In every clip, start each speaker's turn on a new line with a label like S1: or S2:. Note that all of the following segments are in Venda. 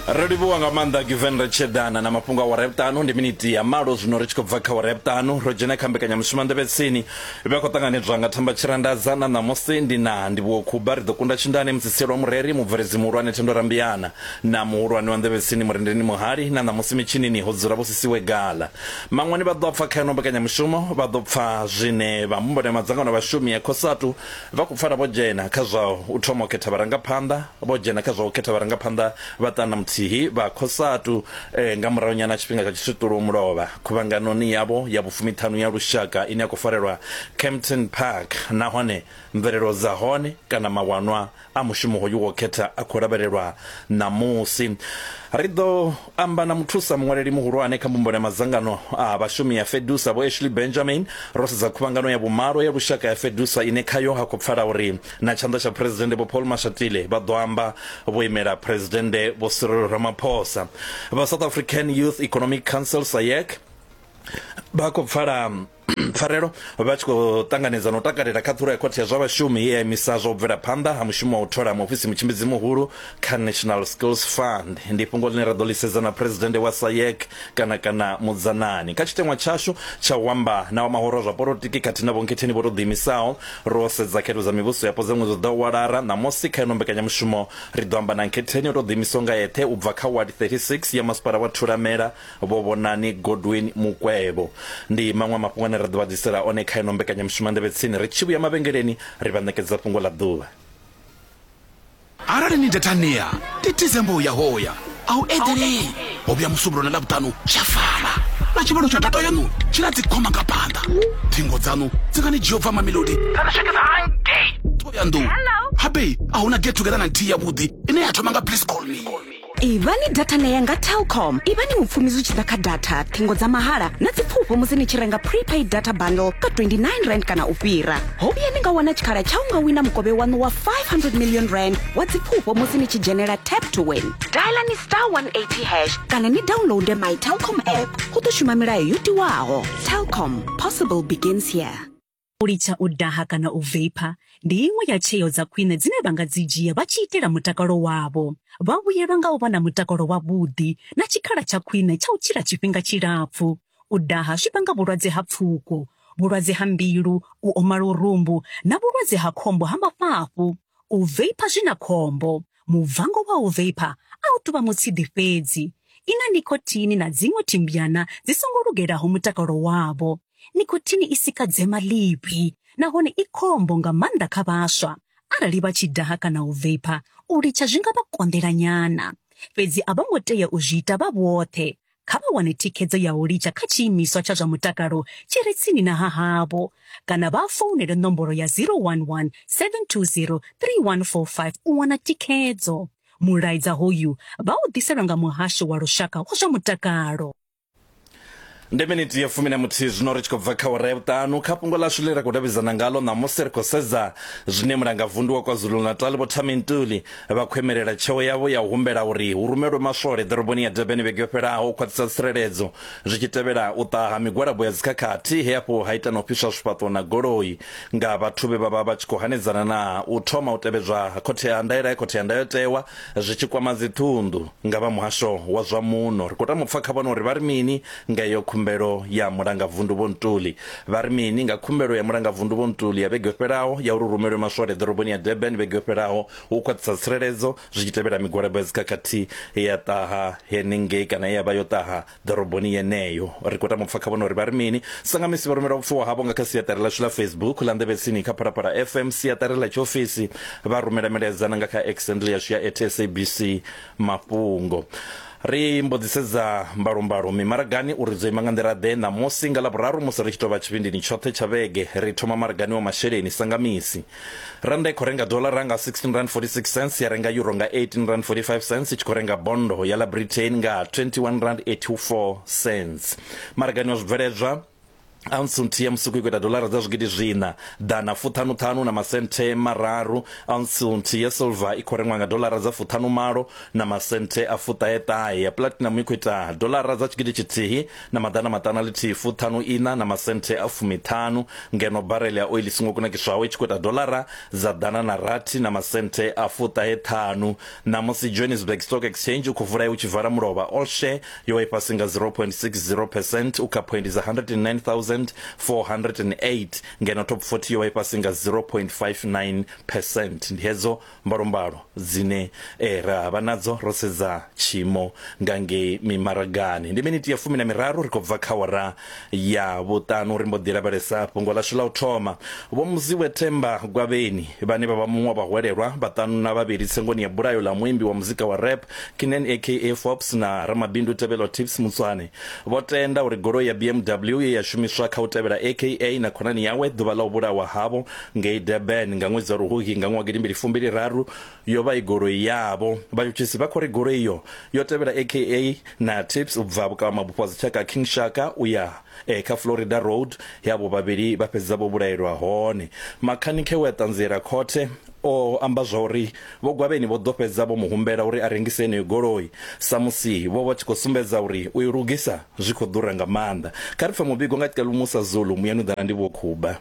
S1: Ro livhuwa nga maanḓa Given ri tshi eḓana na mafhungo a wara ya vhuṱanu ndi miniti ya malo zwino ri tshi khou bva kha wara ya vhuṱanu ro dzhena kha mbekanyamushumo nḓevhe tsini vha khou ṱanganedzwa nga Thamba Tshirandadza na ṋamusi ndi na Ndivhuwo Khuba ri ḓo kunda tshindane musisielwa mureri mubveledzi muhulwane Thendo Rambiana na muhulwane wa nḓevhe tsini Murendeni Muhali na ṋamusi mitshinini ho dzula Vho Sisiwe Gala Maṅwani vha ḓo pfa kha ino mbekanyamushumo vha ḓo pfa zwine vha mbumbano ya madzangano a vhashumi ya Cosatu Vha khou pfala vho dzhena kha zwa u thoma u khetha vharangaphanḓa, vho dzhena kha zwa u khetha vharangaphanḓa vha ṱana muthihi vha Cosatu nga murahunyana ha tshifhinga tsha tshiswiṱulo mulovha khuvhanganoni yavho ya vhufumiṱhanu ya lushaka ine ya khou farelwa Kempton Park nahone mvelelo dza hone kana mawanwa a mushumo hoyu wo khetha a khou lavhelelwa ṋamusi. Ri ḓo amba na muthusa muṅwaleli muhulwane kha mbumbano ya madzangano a vhashumi ya FEDUSA Vho Ashley Benjamin ro sedza khuvhangano ya vhumalo ya lushaka ya FEDUSA ine khayo ha khou pfala uri na tshanḓa tsha Phresidennde Vho Paul Mashatile vha ḓo amba vho imela Phresidennde Vho Cyril Ramaphosa. Vha South African Youth Economic Council SAYEC vha khou pfala pfarelo vha tshi khou ṱanganedza na u takalela khaṱhulo ya khothe ya zwa vhashumi ye ya imisa zwa u bvela phanḓa ha mushumo wa u thola muofisi mutshimbidzi muhulu kha National Skills Fund. Ndi fhungo ḽine ra ḓo ḽi sedza na Phresidennde wa SAYEC kana kana Mudzanani. Kha tshiteṅwa tshashu tsha u amba na wa mahoro a zwa polotiki khathihi na vhonkhetheni vho tou ḓiimisaho, ro sedza khetho dza mivhuso yapo dza ṅwedzi u ḓaho wa Lara. Ṋamusi kha ino mbekanyamushumo ri ḓo amba na nkhetheni o tou ḓiimisaho nga eṱhe u bva kha Ward 36 ya masipala wa Thulamela Vho Vhonani Godwin Mukwevho. Ndi maṅwe a mafhungo ane ra ḓo vha ḓisela one kha ino mbekanyamushumo ya Nḓevhe Tsini. Ri tshi vhuya mavhengeleni ri vha ṋekedza fhungo ḽa ḓuvha.
S2: Arali ni datania, ndi December uya hoya, a u eḓelei. Ho vhuya Musumbulowo na Ḽavhuṱanu tsha fara. Na tshivhalo tsha data yaṋu tshi na dzikhoma nga phanḓa. Ṱhingo dzaṋu dzi nga ni dzhia u bva Mamelodi dza ni swikisa hangei Thohoyandou. Habe a hu na get together na nthihi yavhuḓi ine ya thoma nga please call me.
S3: Ivhani data nea nga Telkom. Ivhani mupfumi zwi tshi ḓa kha data, ṱhingo dza mahala na dzipfufho musi ni tshi renga prepaid data bundle ka 29 rand kana u fhira. Ho vhuya ni nga wana tshikhala tsha u nga wina mukovhe waṋu wa 500 million rand wa dzipfufho musi ni tshi dzhenela tap to win. Dialani star 180 hash kana ni downloade my Telkom app. Hu ḓo shuma milayo yo tiwaho. Telkom, possible begins here.
S4: U litsha u daha kana u veipha ndi iṅwe ya tsheo dza khwine dzine vha nga dzi dzhia vha tshi itela mutakalo wavho. Vha vhuyelwa nga u vha na mutakalo wavhuḓi na tshikhala tsha khwine tsha u tshila tshifhinga tshilapfu. U daha zwi vhanga vhulwadze ha pfuko, vhulwadze ha mbilu, u oma lurumbu na vhulwadze ha khombo ha mafhafhu. U veipha zwi na khombo. Muvango wa u veipha a u tou vha mutsiḓi fhedzi. I na nikhothini na dziṅwe thimbyana dzi songo lugelaho mutakalo wavho. Nikhothini i sika dzema ḽivhi nahone i khombo nga maanḓa kha vhaswa. Arali vha tshi daha kana u veipha, u litsha zwi nga vha konḓela nyana. Fhedzi a vho ngo tea u zwi ita vha vhoṱhe. Kha vha wane thikhedzo ya u litsha kha tshiimiswa tsha zwa mutakalo tshi re tsini na ha havho kana vha founele nomboro ya 011 720 3145 u wana thikhedzo. Mulaedza hoyu vha u ḓiselwa nga Muhasho wa Lushaka wa zwa Mutakalo.
S1: Ndi miniti ya 11 zwino ri tshi khou bva kha awara ya vhuṱanu. Kha fhungo ḽashu ḽine ra khou davhidzana ngalo ṋamusi ri khou sedza zwine mulangavundu wa KwaZulu-Natal Vho Thami Ntuli vha khou imelela tsheo yavho ya u humbela uri hu rumelwe maswole ḓoroboni ya Durban vhege yo fhelaho u khwaṱhisa tsireledzo zwi tshi tevhela u ṱaha ha migwalabo ya dzikhakhathi he afho ha ita na u fhiswa zwifhaṱo na goloi nga vhathu vhe vha vha vha tshi khou hanedzana na u thoma u tevhedzwa ha khothe ya ndaela ya khothe ya ndayotewa Zwi tshi kwama dziṱhunḓu nga vha muhasho wa zwa muno, ri khou tama u pfa kha vhone uri vha ri mini nga iyo khumbelo ya Mulangavundu Vho Ntuli. Vha ri mini nga khumbelo ya Mulangavundu Vho Ntuli ya vhege yo fhelaho ya uri hu rumelwe maswole ḓoroboni ya Durban vhege yo fhelaho u khwaṱhisa tsireledzo zwi tshi tevhela migwalabo ya dzikhakhathi ye ya ṱaha henengei kana ye ya vha yo ṱaha ḓoroboni yeneyo. Ri khou tama u pfa kha vhone uri vha ri mini. Sa nga misi vha rumela vhupfiwa havho nga kha siaṱari ḽashu ḽa Facebook ḽa Nḓevhetsini kha Phalaphala FM, siaṱari ḽa tshiofisi vha rumela milaedza na nga kha X handle yashu ya at SABC Mafhungo. Ri mbo ḓi sedza mbalombalo mimaragani uri dzo ima nga nḓila ḓe ṋamusi nga Ḽavhuraru musi ri tshi tou vha tshivhindini tshoṱhe tsha vhege. Ri thoma maragani wa masheleni sa nga misi. Rannda i khou renga doḽara nga 16 rand 46 cents, ya renga euro nga 18 rand 45 cents, i tshi khou renga bondo ya ḽa Britain nga 21 rand 84 cents. Maragani wa zwibveledzwa. Ounce nthihi ya musuku i khou ita doḽara dza zwigidi zwiṋa ḓana fuṱhanuṱhanu na masenthe mararu. Ounce nthihi ya silver i khou rengwa nga doḽara dza fuṱhanumalo na masenthe a fuṱaheṱahe. Ya platinum i khou ita doḽara dza tshigidi tshithihi na maḓana maṱanu a ḽithihi fuṱhanu iṋa na masenthe a fumiṱhanu, ngeno barele ya oili i songo kunakiswaho i tshi khou ita doḽara dza ḓana na rathi na masenthe a fuṱaheṱhanu. Ṋamusi Johannesburg Stock Exchange u khou vula u tshi vala mulovha all share yo vha i fhasi nga 0.60 percent u kha phoindi dza 109,408 ngeno top 40 yo vha i fhasi nga 0.59 percent. Ndi hedzo mbalombalo dzine eh, ra vha nadzo ro sedza tshiimo nga ngei mimaragani. Ndi miniti ya fumi na miraru ri khou bva kha wara ya vhuṱanu ri mbo ḓi lavhelesa fhungo ḽashu ḽa u thoma. Vho Muziwe Themba Gwavheni vhane vha vha muṅwe wa vhahwelelwa vhaṱanu na vhavhili tsengoni ya bulayo ḽa muimbi wa muzika wa rap Kinen aka Forbes na ramabindu Tebello Tips Mutswane vho tenda uri goloi ya BMW ye ya shumiswa kha u tevhela aka na khonani yawe ḓuvha ḽa u vhulawa havho ngei Durban nga ṅwedzi wa Luhuhi nga ṅwaha gidimbili fumbili raru yo vha i goloi yavho. Vhatshutshisi vha khou ri goloi iyo yo tevhela aka na Tips u bva vhukavhamabufho ha dzitshaka King Shaka u ya kha Florida Road he avho vhavhili vha fhedza vho vhulaelwa hone. Makhanikhe we a ṱanziela khothe o amba zwauri Vho Gwavheni vho ḓo fhedza vho mu humbela uri a rengise yeneyo goloi sa musi vho vha tshi khou sumbedza uri u i lugisa zwi khou ḓura nga maanḓa. Kha ri pfe muvhigo nga Celumusa Zulu, Muyani u ḓa na Ndivhuwo Khuba.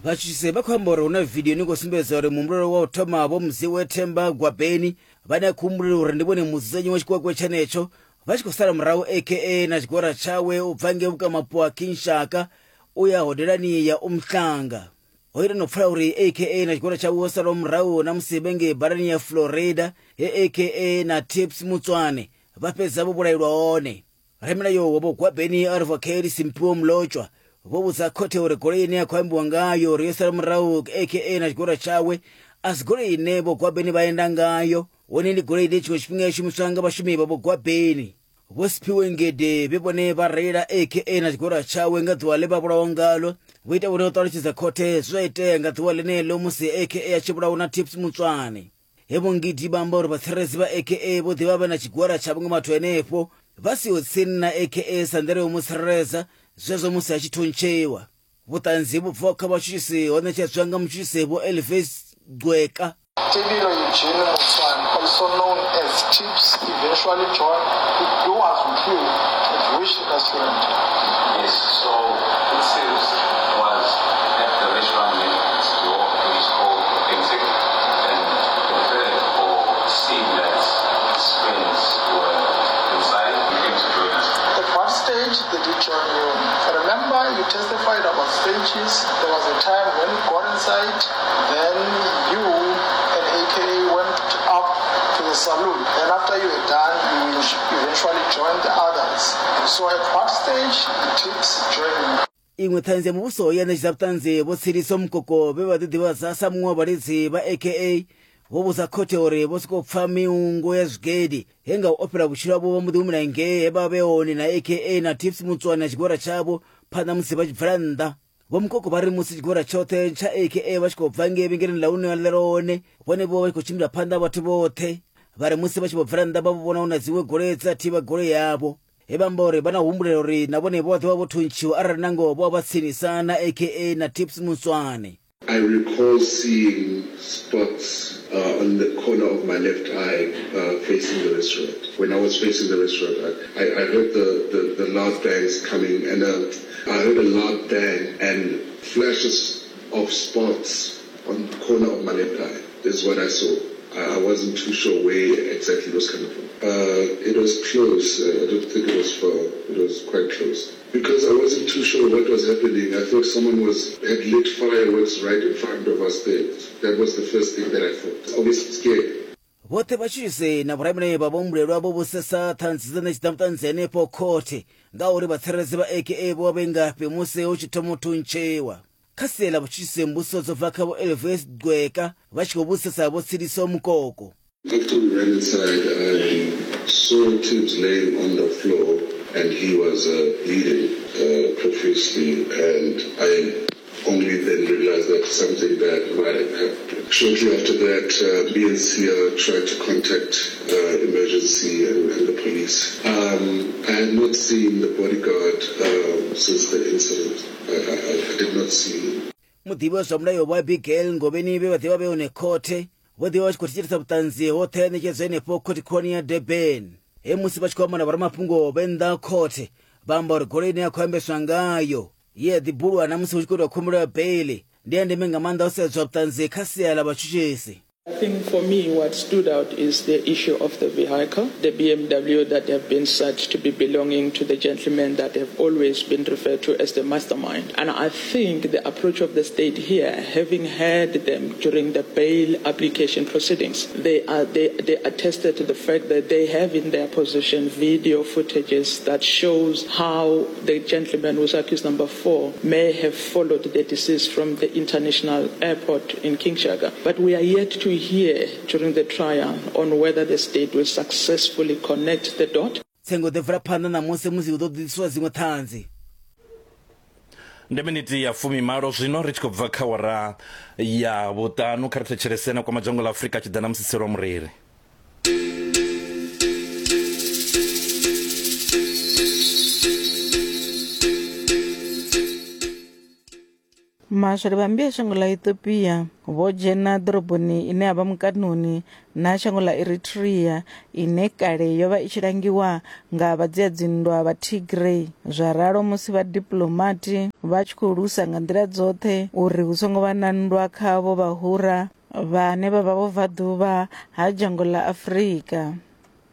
S5: Vhatshutshisi vha khou amba uri hu na vidio ine khou sumbedza uri muhumbulelwa wa u thoma Vho Mziwe Themba Gwabeni vhane a khou humbulelwa uri ndi vhone mudzudzanyi wa tshikwekwe tshenetsho vha tshi khou sala murahu aka na tshigwada tshawe u bva ngei vhukamapo ha King Shaka u ya hodelani ya Umhlanga. Ho ita no pfala uri aka na tshigwada tshawe ho salaho murahu na musi vhe ngei badani ya Florida he aka na Tips Mutswane vha fhedza vho vhulaelwa hone. Ramilayo wa Vho Gwabeni Advocate Simphiwe Mlotshwa vho vhudza khothe uri goloi ine ya khou ambiwa ngayo uri yo sala murahu aka na tshigwada tshawe a si goloi ine Vho Gwabeni vha enda ngayo, hone ndi goloi ine tshiṅwe tshifhinga ya shumiswa nga vhashumi vha Vho Gwabeni. Vho Siphiwe Ngede vhe vhone vha reila aka na tshigwada tshawe nga ḓuvha ḽe vha vhulawa ngalo, vho ita vhone u ṱalutshedza khothe zwe zwa itea nga ḓuvha ḽeneḽo musi aka a tshi vhulawa na Tips Mutswane. He Vho Ngidi vha amba uri vhatsireledzi vha AKA vho ḓi vha vhe na tshigwada tsha vhaṅwe vhathu henefho vha siho tsini na AKA sa nḓila ya u mu tsireledza zwezwo musi a tshi thuntshiwa. Vhuṱanzi vhu bvaho kha vhatshutshisi ho ṋetshedzwa nga mutshutshisi Vho Elvis Gqweka.
S6: Tebello Eugene Motswane, also known as Tips, eventually joined who was with you at which restaurant?
S7: Yes, so Tips was at the restaurant next door, which is called Authentic, and heard or seen that his friends were inside. He came to join us.
S6: At what stage did he join you? Remember, you testified about stages. There was a time when you got inside, then you and AKA went up to the saloon. Then after you were done, you eventually joined the others. So at what stage did Tips join you?
S5: Iṅwe ṱhanzi ya muvhuso ye ya ṋetshedza vhuṱanzi Vho Tseliso Mukoko vhe vha ḓiḓivhadza sa muṅwe wa vhalidzi vha AKA vho vhudza khothe uri vho sokou pfa miungo ya zwigidi he nga u ofhela vhutshilo havho vha mbo ḓi humela ngei he vha vhe hone na AKA na Tips Mutswane na tshigwada tshavho phanḓa musi vha tshi bvela nnḓa. Vho Mukoko vha ri musi tshigwada tshoṱhe tsha AKA vha tshi khou bva ngei vhengeleni ḽa hune vha ḽela hone, vhone vho vha tshi khou tshimbila phanḓa ha vhathu vhoṱhe. Vha ri musi vha tshi vho bvela nnḓa vha vho vhona hu na dziṅwe goloi dze dza thivha goloi yavho. He vha amba uri vha na humbulela uri na vhone vho vha ḓo vha vho thuntshiwa arali nangoho vho vha vha tsinisa na AKA na Tips Mutswane.
S8: I recall seeing spots on the corner of my left eye facing the restaurant. When I was facing the restaurant, I, I heard the, the, the loud bangs coming and I heard a loud bang and flashes of spots on the corner of my left eye. This is what I saw. I, I wasn't too sure where exactly it was coming from. It was close. I don't think it was far. It was quite close. Because I wasn't too sure what was happening. I thought someone was had lit fireworks right in front of us there. That was the first thing that I thought. Obviously scared.
S5: Vhoṱhe vhatshutshisi na vhoramilayo vha vhahumbulelwa vho vhusesa ṱhanzi dza ṋetshedza vhuṱanzi henefho khothe ngauri vhatsireledzi vha AKA vho vha vhe ngafhi musi hu tshi thoma u thuntshiwa. Kha sia ḽa vhutshutshisi mbudziso dzo bva kha Vho Elvis Gqweka vha tshi khou vhudzisesa Vho Tseliso Mukoko.
S8: After we ran inside, I saw Tibbs laying on the floor and he was bleeding profusely and I only then realized that something bad might have happened. Shortly after that, uh, me and Sia tried to contact uh, emergency and, and the police. Um, I had not seen the bodyguard uh, since the incident. I, I, I did not see him.
S5: Muḓivhi wa zwa mulayo Vho Abigail Ngobeni vhe vha ḓivha vhe hone khothe vho ḓivha vha tshi khou thetshelesa vhuṱanzi hoṱhe ha ṋetshedzwa henefho khothe khulwane ya Durban. He musi vha tshi khou amba na vhoramafhungo vhe nnḓa ha khothe vha amba uri goloi ine ya khou ambeswa ngayo ye ya ḓi bulwa na musi hu tshi khou itwa khumbelo ya beiḽi ndi ya ndeme nga maanḓa ho sedzwa vhuṱanzi kha sia ḽa vhatshutshisi.
S9: I think for me what stood out is the issue of the vehicle, the BMW that have been said to be belonging to the gentleman that have always been referred to as the mastermind. And I think the approach of the state here, having heard them during the bail application proceedings, they are they, they attested to the fact that they have in their possession video footages that shows how the gentleman who's accused number 4 may have followed the deceased from the international airport in Kinshasa. But we are yet to hear during the trial on whether the state will successfully connect the dot.
S5: Tsengo ḓo bvela phanḓa ṋamusi musi hu ḓo ḓiswa dziṅwe ṱhanzi.
S1: Ndi miniti ya fumimalo zwino ri tshi khou bva kha wara ya vhuṱanu. Kha ri thetshelese na kwama dzhango ḽa Afrika tshi ḓa na musiselo wa mureri.
S10: Maswole vha mmbi ya shango ḽa Ethiopia vho dzhena ḓoroboni ine ya vha mukanoni na shango ḽa Eritrea ine kale yo vha i tshi langiwa nga vhadzia-dzinndwa vha Tigray. Zwa ralo musi vhadiplomati vha tshi khou lusa nga nḓila dzoṱhe uri hu songo vha na nndwa kha vho vhahura vhane vha vha vhubvaḓuvha ha dzhango ḽa Afrika.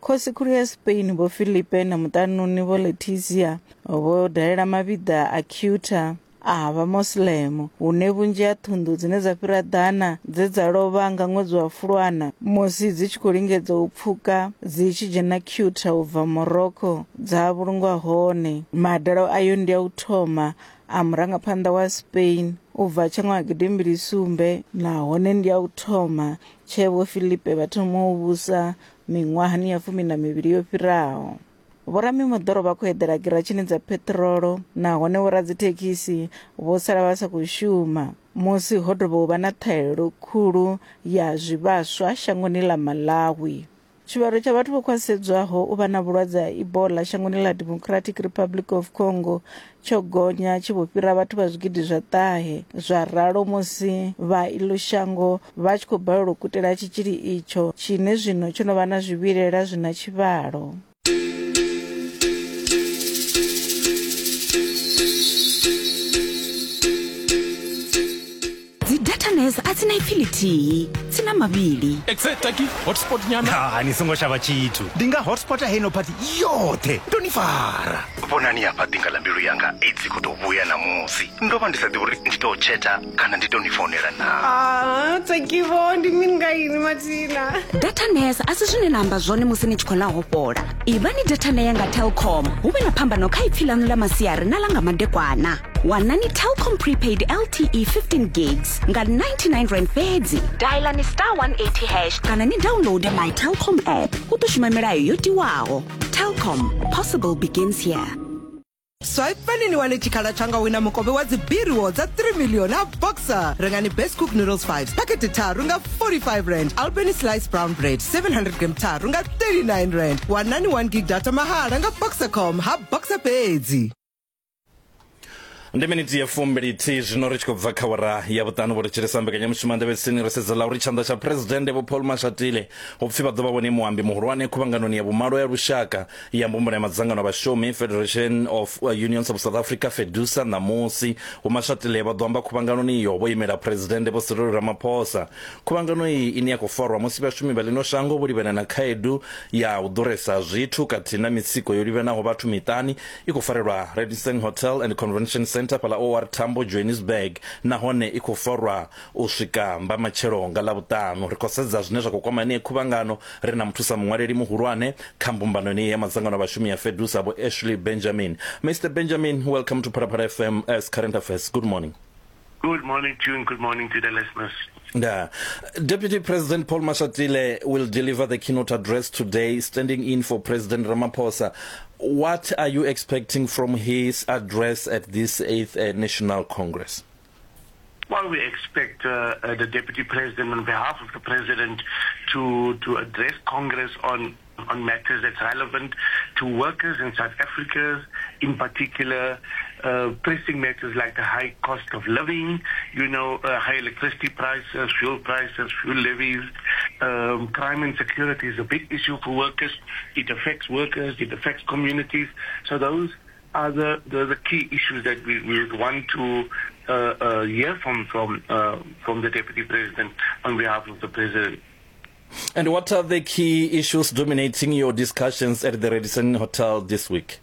S10: Khosi-khulu ya Spain Vho Felipe na muṱanuni Vho Letizia vho dalela mavhiḓa a Ceuta a Vhamoslem hune vhunzhi ha ṱhunḓu dzine dza fhira ḓana dze dza lovha nga ṅwedzi wa Fulwana musi dzi tshi khou lingedza u pfuka dzi tshi dzhena Ceuta u bva Morocco dza vhulungwa hone. Madalo ayo ndi a u thoma a murangaphanḓa wa Spain u bva tsha ṅwaha gidimbili sumbe nahone ndi a u thoma tshee Vho Felipe vha thoma u vhusa Miṅwahani ya fumi na mivhili yo fhiraho, vhoramimoḓoro vha khou eḓela giratshini dza pheṱirolo nahone vhoradzithekhisi vho sala vha sa khou shuma musi ho dovha u vha na ṱhahelelo khulu ya zwivhaswa shangoni ḽa Malawi. Tshivhalo tsha vhathu vho khwaṱhisedzwaho u vha na vhulwadze ha Ebola shangoni ḽa Democratic Republic of Congo tsho gonya tshi vho fhira vhathu vha zwigidi zwa ṱahe, zwa ralo musi vha iḽo shango vha tshi khou balelwa u kutela tshitzhili itsho tshine zwino tsho no vha na zwivhilela zwi na tshivhalo.
S3: Dzi datanes a dzi na ipfi ḽithihi, dzi na mavhili.
S11: Exe taki hotspot nyana.
S12: Ha, ni songo shavha tshithu. Ndi nga hotspota heino phathi yoṱhe. Ndo ni fara.
S13: Vhonani hafha ḓinga ḽa mbilu yanga aids i khou tou vhuya ṋamusi. Ndo vha ndi sa ḓivhi uri ndi tou tsheta kana ndi tou ni founela naa.
S14: Ah, Takivo, ndi mini nga ini mathina?
S3: Datanes a si zwine na amba zwone musi ni tshi khou ḽa hofhola. Ivhani datanea nga Telkom hu vhe na phambano kha ipfi ḽaṋu ḽa masiari na ḽa nga madekwana. Wanani Telkom prepaid LTE 15 gigs nga 99 rand fhedzi. Dialani star 180 hash kana ni downloade my Telkom app. Hu ḓo shuma milayo yo tiwaho. Telkom, possible begins here.
S15: Swipani ni wane tshikhala tsha nga wina mukovhe wa dzibiriwo dza 3 million ha Boxer. Rengani Best Cook Noodles 5 phakhethe tharu nga 45 rand, Albany Slice Brown Bread 700 gram tharu nga 39 rand. Wanani 1 gig data mahala nga Boxercom ha Boxer fhedzi.
S1: Ndi miniti ya fumbilithihi zwino ri tshi khou bva kha wara ya vhuṱanu. Vho thetshelesa mbekanyamushumo nḓevhetsini ri sedza ḽa uri tshanḓa tsha phuresidennde Vho Paul Mashatile hu pfi vha ḓo vha vhone muambi muhulwane khuvhanganoni ya vhumalo ya lushaka ya mbumbano ya madzangano a vhashumi Federation of Unions of South Africa FEDUSA ṋamusi. Vho Mashatile vha ḓo amba khuvhanganoni iyo vho imela phuresidennde Vho Cyril Ramaphosa. Khuvhangano iyi ine ya khou farwa musi vhashumi vha ḽino shango vho livhana na khaedu ya u ḓuresa ha zwithu khathihi na mitsiko yo livhanaho vhathu miṱani i khou farelwa Radisson Hotel and Convention Centre fhaḽa OR Tambo, Johannesburg nahone i khou farwa u swika mbamatshelo nga Ḽavhuṱanu. Ri khou sedza zwine zwa khou kwama yeneyi khuvhangano ri na muthusa muṅwaleli muhulwane kha mbumbano yeneyi ya madzangano a vhashumi ya FEDUSA Vho Ashley Benjamin. Mister Benjamin, welcome to Phalaphala FM as Current Affairs. Good morning.
S16: Good morning to you and good morning to the listeners.
S1: Yeah. Deputy President Paul Mashatile will deliver the keynote address today, standing in for President Ramaphosa. What are you expecting from his address at this 8th National Congress?
S16: Well, we expect uh, uh, the Deputy President, on behalf of the President, to, to address Congress on, on matters that's relevant to workers in South Africa, in particular, uh, pressing matters like the high cost of living, you know, uh, high electricity prices, fuel prices, fuel levies. Um, crime and security is a big issue for workers. It affects workers, it affects communities. So those are the, the, the key issues that we, we would want to uh, uh, hear from, from, uh, from the Deputy President on behalf of the President.
S1: And what are the key issues dominating your discussions at the Radisson Hotel this week?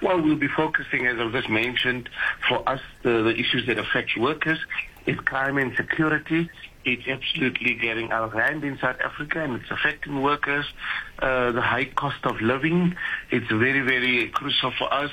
S16: Well, we'll be focusing, as I've just mentioned, for us, the, the issues that affect workers is crime and security. It's absolutely getting out of hand in South Africa and it's affecting workers. Uh, the high cost of living, it's very, very crucial for us.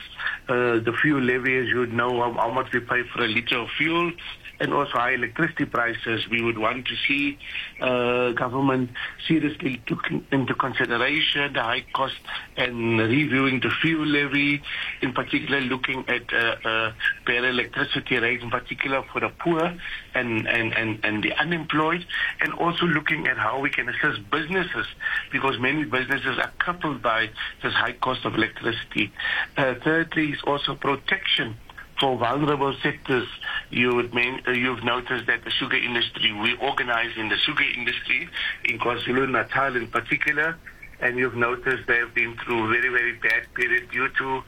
S16: Uh, the fuel levy, as you know, how, how much we pay for a liter of fuel and also high electricity prices. We would want to see uh, government seriously took into consideration the high cost and reviewing the fuel levy, in particular looking at uh, uh, better electricity rates, in particular for the poor and, and, and, and the unemployed, and also looking at how we can assist businesses, because many businesses are crippled by this high cost of electricity. Uh, thirdly is also protection for vulnerable sectors. You would main, uh, you've noticed that the sugar industry, we organize in the sugar industry, in KwaZulu-Natal in particular, and you've noticed they've been through very, very bad period due to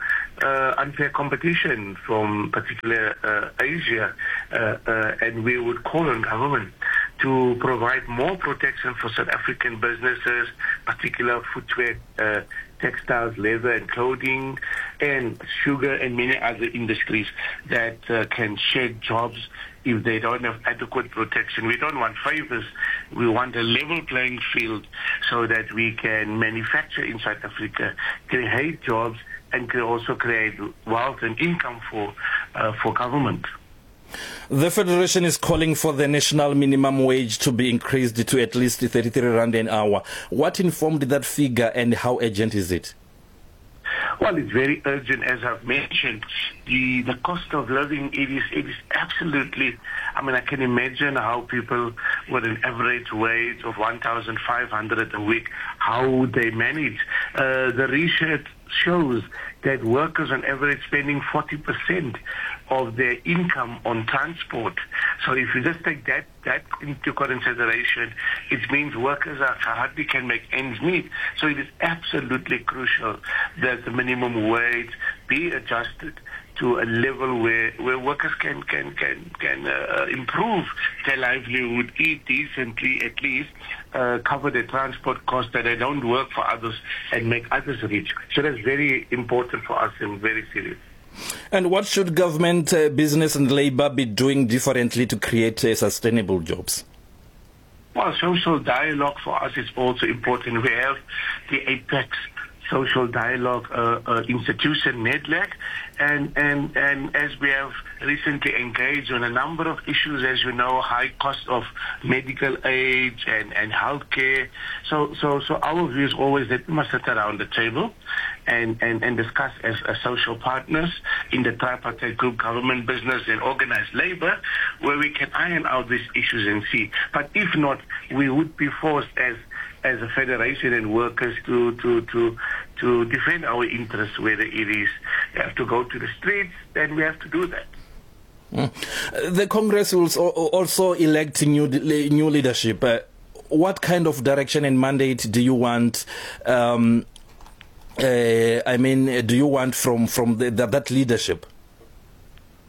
S16: uh, unfair competition from particular uh, Asia. Uh, uh, and we would call on government to provide more protection for South African businesses, particular footwear, uh, textiles, leather and clothing, and sugar and many other industries that uh, can shed jobs if they don't have adequate protection. We don't want favors. We want a level playing field so that we can manufacture in South Africa, create jobs, and can also create wealth and income for, uh, for government.
S1: The Federation is calling for the national minimum wage to be increased to at least 33 rand an hour. What informed that figure and how urgent is it?
S16: Well, it's very urgent, as I've mentioned. The, the cost of living, it is, it is absolutely, I mean, I can imagine how people with an average wage of 1,500 a week, how they manage. Uh, the research shows that workers on average spending 40% of their income on transport. So if you just take that, that into consideration, it means workers are, hardly can make ends meet. So it is absolutely crucial that the minimum wage be adjusted to a level where, where workers can, can, can, can uh, improve their livelihood, eat decently at least, uh, cover their transport costs, that they don't work for others and make others rich. So that's very important for us and very serious.
S1: And what should government, uh, business and labor be doing differently to create uh, sustainable jobs?
S16: Well, social dialogue for us is also important. We have the APEX social dialogue uh, uh, institution, NEDLAC, and, and, and as we have recently engaged on a number of issues, as you know, high cost of medical aid and, and healthcare. So, so, so our view is always that we must sit around the table and, and, and discuss as, as social partners in the tripartite group, government, business, and organized labor, where we can iron out these issues and see. But if not, we would be forced as as a federation and workers to, to, to, to defend our interests, whether it is we have to go to the streets, then we have to do that.
S1: Mm. The Congress will also elect new, new leadership. Uh, what kind of direction and mandate do you want? Um, uh, I mean, do you want from, from the, the, that leadership?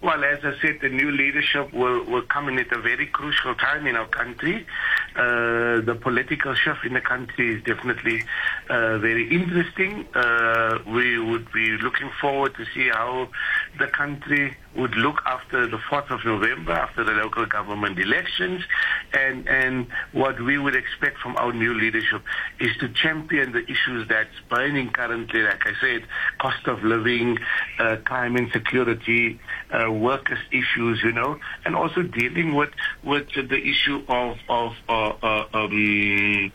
S16: Well, as I said, the new leadership will, will come in at a very crucial time in our country. Uh, the political shift in the country is definitely uh, very interesting. Uh, we would be looking forward to see how the country would look after the 4th of November, after the local government elections. And, and what we would expect from our new leadership is to champion the issues that's burning currently, like I said, cost of living, uh, crime and security, uh, workers' issues, you know, and also dealing with, with the issue of, of uh, uh, um,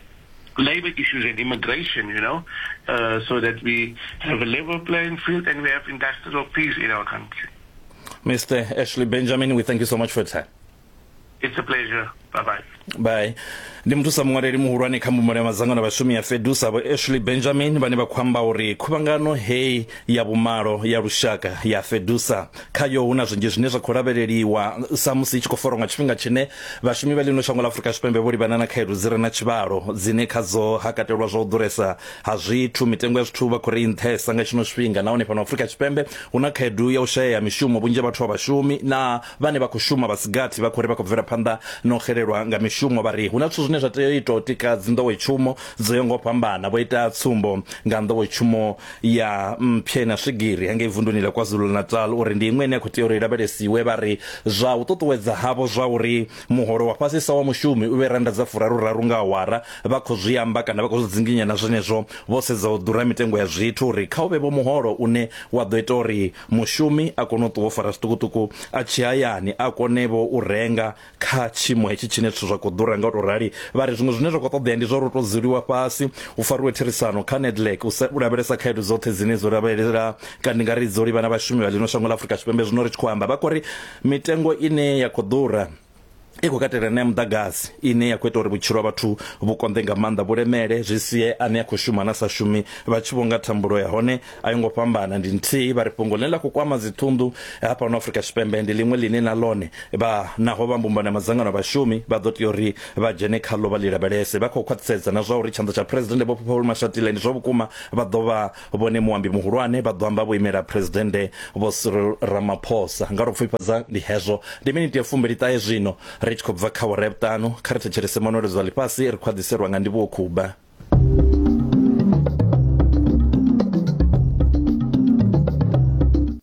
S16: labor issues and immigration, you know, uh, so that we have a level playing field and we have industrial peace in our country.
S1: Mr. Ashley Benjamin, we thank you so much for your time.
S16: It's a pleasure. Bye bye.
S1: Bye. Ndi muthusa muṅwaleli muhulwane kha mbumbano ya madzangano a vhashumi ya FEDUSA Vho Ashley Benjamin vhane vha khou amba uri khuvhangano heyi ya vhumalo ya lushaka ya FEDUSA khayo hu na zwinzhi zwine zwa khou lavheleliwa sa musi i tshi khou farwa nga tshifhinga tshine vhashumi vha ḽino shango ḽa Afrika Tshipembe vho livhana na khaedu dzi re na tshivhalo dzine khadzo ha katelwa zwa u ḓuresa ha zwithu mitengo ya zwithu vha khou ri nṱhesa nga tshino tshifhinga nahone fhano Afrika Tshipembe hu na khaedu ya u shayea mishumo vhunzhi ha vhathu a vhashumi na vhane vha khou shuma vha si gathi vha khou ri vha khou bvela phanḓa na u xelelwa nga mishumo. Vha ri hu na zwithu zwine zwa tea u itwa u tika dzinḓowetshumo dzo yaho nga u fhambana. Vho ita tsumbo nga nḓowetshumo ya mphe na swigiri hangei vunduni ḽa KwaZulu-Natal uri ndi iṅwe ine ya khou tea uri i lavhelesiwe. Vha ri zwa u ṱuṱuwedza havho zwa uri muholo wa fhasisa wa mushumi u vhe rannda dza furaru-raru nga awara vha khou zwi amba kana vha khou zwi dzinginya na zwenezwo vho sedza u ḓura mitengo ya zwithu uri kha u vhe vho muholo une wa ḓo ita uri Mushumi a kone u ṱuwa o fara zwiṱukuṱuku a tshi hayani a kone-vho u renga kha tshiimo hetshi tshine zwithu zwa khou ḓura nga u tou rali. Vha ri zwiṅwe zwine zwa khou ṱoḓea ndi zwa uri hu tou dzuliwa fhasi hu fariwe therisano kha Nedlac u u lavhelesa khaedu dzoṱhe dzine dzo lavhelela kana ndi nga ri dzo livhana vhashumi vha ḽino shango ḽa Afrika Tshipembe. Zwino ri tshi khou amba vha khou ri mitengo ine ya khou ḓura i khou katela na ya muḓagasi ine ya khou ita uri vhutshilo ha vhathu vhu konḓe nga maanḓa vhu lemele zwi sie ane a khou shuma na sa shumi vha tshi vho nga thambulo ya hone a yo ngo fhambana ndi nthihi. Vha ri fhungo ḽine ḽa khou kwama dziṱhunḓu hafhano Afrika Tshipembe ndi ḽiṅwe ḽine na ḽone vha naho vha mbumbano ya madzangano a vhashumi vha ḓo tea uri vha dzhene khaḽo vha ḽi lavhelese. Vha khou khwaṱhisedza na zwa uri tshanḓa tsha Phresidennde Vho Paul Mashatile ndi zwa vhukuma vha ḓo vha Vhone muambi muhulwane vha ḓo amba vho imela Phresidennde Vho Cyril Ramaphosa. Nga ro pfufhifhadza ndi hezwo. Ndi miniti ya fumbili-ṱahe zwino ri tshi khou bva kha awara ya vhuṱanu. Kha ri thetshelese manweledzo a ḽifhasi ri khou a ḓiselwa nga Ndivhuwo Khuba.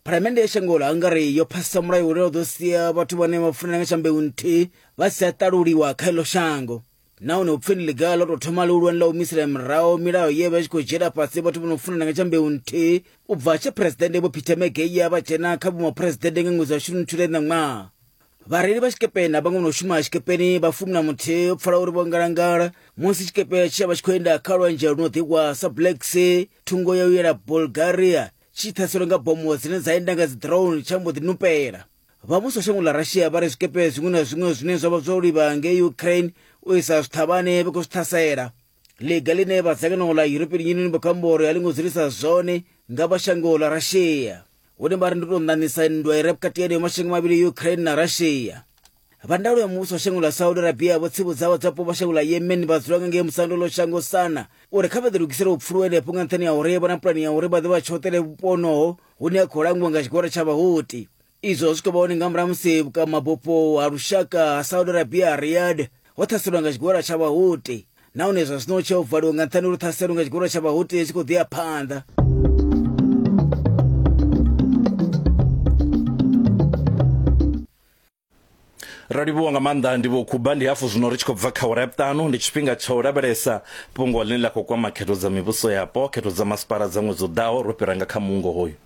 S5: Phalamennde ya shango ḽa Hungary yo phasisa mulayo une wa ḓo sia vhathu vhane vha funana nga tsha mbeu nthihi vha si tsha ṱaluliwa kha iḽo shango. Nahone hu pfi ndi ḽiga ḽo tou thoma ḽihulwane ḽa u humisela murahu milayo ye vha i tshi khou dzhiela fhasi vhathu vho no funana nga tsha mbeu nthihi u bva tshe Phresidennde Vho Peter Mageia vha dzhena kha vhuMaphuresidennde nga ṅwedzi wa Shundunthule ṋaṅwaha. Vhareili vha tshikepe na vhaṅwe vho no shuma tshikepeni vha 11 ho pfala uri vho ngalangala musi tshikepe tshe vha tshi khou enda kha lwanzhe lu no ḓihwa sa Black Sea thungo ya u yela Bulgaria tshi ṱhaselwe nga bomo dzine dza enda nga dzi drone tsha mbo ḓi nupela. Vha muvhuso wa shango ḽa Russia vha ri zwikepe zwiṅwe na zwiṅwe zwine zwa vha zwo livha ngei Ukraine u isa zwiṱhavhane vha khou zwi ṱhasela. Ḽiga ḽine vha dzangano ḽa European Union vha khou amba uri a ḽi ngo dzulisa zwone nga vha shango ḽa Russia, hune vha ri ndi u tou ṋaṋisa nndwa i re vhukati ha mashango mavhili Ukraine na Russia. Vha ndaulo ya muvhuso wa shango ḽa Saudi Arabia vho tsivhudza vhadzulapo vha shango ḽa Yemen vha dzula nga ngei musando ḽo shango Sana uri kha vha ḓilugisele u pfuluwa henefho nga nṱhani ha uri vha na pulani ya uri vha ḓo vha tshoṱele vhupo honoho hune ha khou langiwa nga tshigwada tsha Vhahuti. Izwo zwi khou vha hone nga murahu musi vhukamabufho ha lushaka ha Saudi Arabia Riyadh ho ṱhaselwa nga tshigwada tsha Vhahuti nahone zwa zwino tshe ho valiwa nga nṱhani uri ṱhaselo nga tshigwada tsha Vhahuti tshi khou ḓi ya phanḓa.
S1: Ro livhuwa nga maanḓa Ndivhuwo Khuba. Ndi hafu zwino ri tshi khou bva kha awara ya vhuṱanu. Ndi tshifhinga tsha u lavhelesa fhungo ḽine ḽa khou kwama khetho dza mivhuso yapo, khetho dza masipala dza ṅwedzi u ḓaho. Ro fhira nga kha muungo hoyu.